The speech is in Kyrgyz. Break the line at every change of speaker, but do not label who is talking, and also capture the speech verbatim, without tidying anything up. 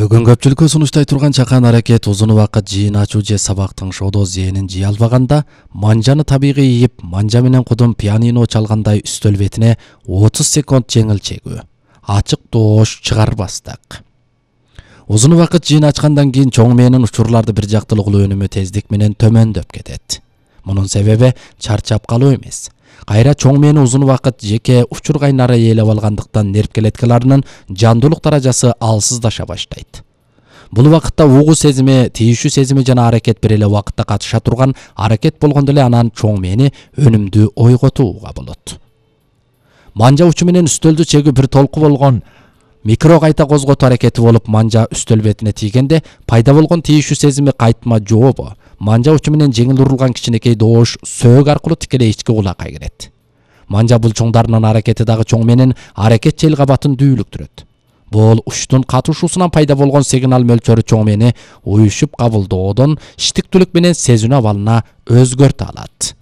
Бүгүн көпчүлүккө сунуштай турган чакан аракет узун убакыт жыйын ачуу же сабактын шоодо зээнин жыйа албаганда манжаны табигый ийип, манжа менен кудум пианино чалгандай үстөл бетине отуз секунд жеңил чегүү, ачык доош чыгарбастык. Узун убакыт жыйын ачкандан кийин чоң мээнин учурларды бир жактылыгылуу өнүмү тездик менен төмөндөп кетет. Мунун себеби чарчап калуу эмес. Кайра чоң мээнин узун убакыт жеке учур кайнары ээлеп алгандыктан нерв клеткаларынын жандуулук даражасы алсыздаша баштайт. Бул убакытта угуу сезими, тийишүү сезими жана аракет бир эле убакытта катыша турган аракет болгондо эле анан чоң мээни өнүмдүү ойготууга болот. Манжа учу менен үстөлдү чегүү бир толку болгон микро кайта козготуу аракети болуп, манжа үстөл бетине тийгенде пайда болгон тийишүү сезими кайтма жообу, манжа учу менен жеңил урулган кичинекей доош сөөгү аркылуу тикелей ички кулакка кирет. Манжа булчуңдарынын аракети дагы чоң мээнин аракет жел кабатын дүүлүктүрөт. Бул учтун катышуусунан пайда болгон сигнал мөлчөрү чоң мээни уюшуп кабылдоодон иштиктүүлүк менен сезинүү абалына өзгөртө алат.